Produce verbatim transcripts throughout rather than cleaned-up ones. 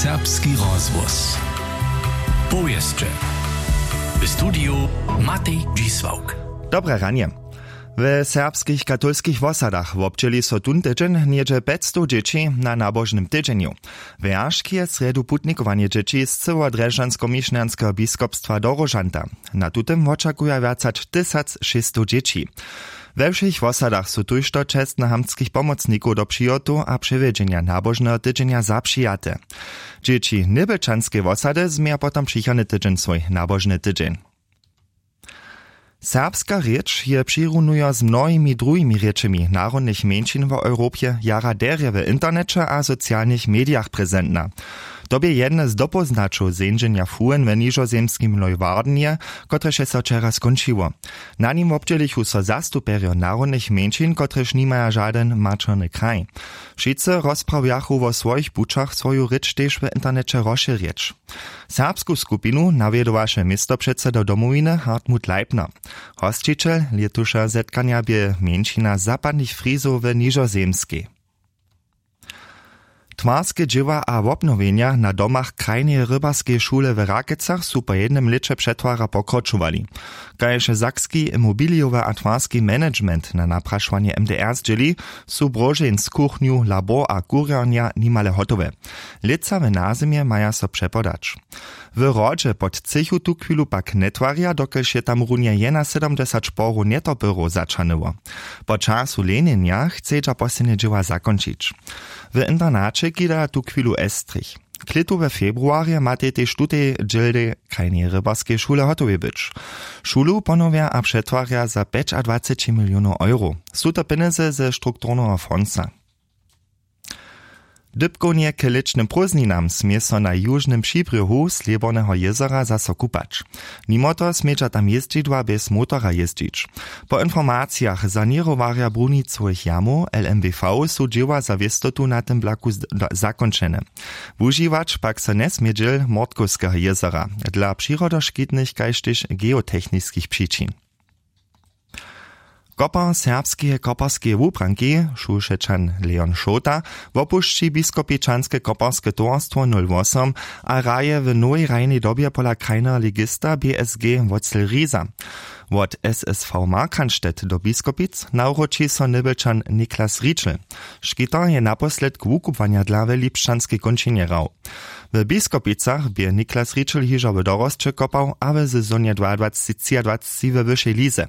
Serbski rozhłos. Powěsće. W studiju Matej Dźisławk. Dobre ranje. We serbskich katolskich wosadach wobdźěli so tón tydźeń něhdźe pjećstow dźěći na nabožnym tydźenju. Wjeršk je srjedu putnikowanje dźěći z cyłodrježdźanskomišnjanskeho biskopstwa do Róžanta. Na tutym wočakuja wjac hač tysac šěsćstow dźěći. We wšěch wosadach su tójšto čestnohamtskich pomocnikow do přihotow a přewjedźenja nabožneho tydźenja zapřijate. Dźěći njebelčanskej wosady změja potom přichodny tydźeń swój nabožny tydźeń. Serbska rěč je přirunujo z mnohimi druhimi rěčemi narodnych mjeńšin w Europje jara derje w interneće a socialnych medijach prezentna. To bě jedne z dopóznaćow zeńdźenja fuhen w nižozemskim Leuwardenje, kotrež je so wčera skónčiło. Na nim wobdźělichu so zastupjerjo narodnych mjeńšin, kotrež nimaja žadyn maćerny kraj. Wšitcy rozprawjachu wo swojich pućach, swoju rěč tež w interneće rozšěrjeć. Serbsku skupinu nawjedowaše městopředseda Domowiny Hartmut Leipner. Hosćićel lětušeho zetkanja bě mjeńšina zapadnych Frizow w Nižozemskej. Twarske dźěła a wobnowjenja na domach krajneje rybarskeje šule w Rakecach su po jednym lěće přetwara pokročowali. Kaž je sakski imobilijowy a twarski management na naprašowanje M D R zdźěli, su bróžeń z kuchnju, labor a kurjernja nimale hotowe. Lětsa w nazymje maja so přepodać. W hrodźe pod třěchu tuchwilu pak njetwarja, dokelž je tam runje jenasydomdźesat šporow njetopyrow zaćahnyło. Po času lenjenja chcedźa poslednje dźěła zakónčić. W internaće kidaja tuchwilu estrich. K lětu we februarje matej tež tutej dźěl krajneje rybarskeje šule hotowej być. Šulu ponowja a přetwarja za pjećadwaceći milionow euro. Su to pjenjezy ze strukturneho fondsa. Dypkownje k lěćnym prózdninam smě so na južnym přibrjohu Slěborneho jězora zaso kupać. Nimo toho smědźa tam jězdźidła bjez motora jězdźić. Po informacijach saněrowarja brunicowych jamow L M B V su dźěła za wěstotu na tym blaku z- do- zakónčene. Wužiwać pak so njesmě dźěl Mortkowskeho jězora dla přirodoškitnych kaž tež geotechniskich přičin. Kopar serbskeje koparskeje wubranki, Šušečan Leon Šołta, wopušći biskopičanske koparske towarstwo nul wosom a hraje w nowej hrajnej dobje pola krajneho ligista B S G Wocel Riza. Wot S S V Markranstädt do Biskopic nawróći so Nybelčan Niklas Ričel. Škiter je naposledk wukubłanja dla we Lipšćanskej kónčinje hrał. W Biskopicach bě Niklas Ričel hižo w dorosće kopał a w sezonje dwaadwaceći třiadwaceći we wyšej lize.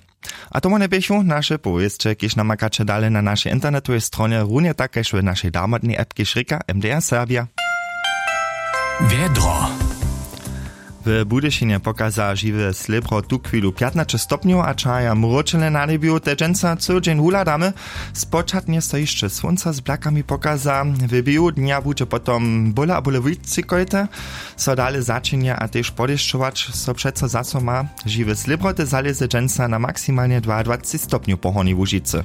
A to wone běchu naše powěsće, kiž namakaće dale na našej internetowej stronje, runje tak kaž w našej damodnej appkej Šrika M D R Serbia. Wjedro. W Budyšinje pokaza žiwe slěbro tuchwilu pjatnaće stopnjow a čaja mróčele na njebju. Te dźensa cyły dźeń wuhladamy. Spočatnje so hišće słónco z blakami pokaza, w běhu dnja budźe potom bóle a bóle wulcikojte so dale začinja a tež podešćować so přeco zaso ma. Žiwe slěbroty zalěze dźensa na maksimalnje dwaadwaceći stopnjow po Hornjej Łužicy.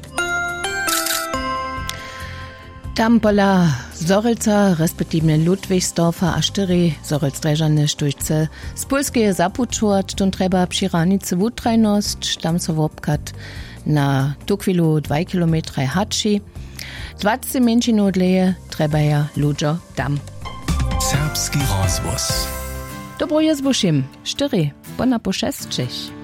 Tam pola Zhorjelca, respektiwnje Ludwigsdorfa a štyri Zhorjelc-Drježany, štóž chce z Pólskeje zapućować, tón trjeba při hranicy wutrajnosć, tam so wobchad na tuchwilu dwaj kilometraj haći. Dwaceći mjeńšinow dlěje trjebaja ludźo tam. Serbski rozhłos. Dobru jězbu wšěm, štyri pona po šesćich.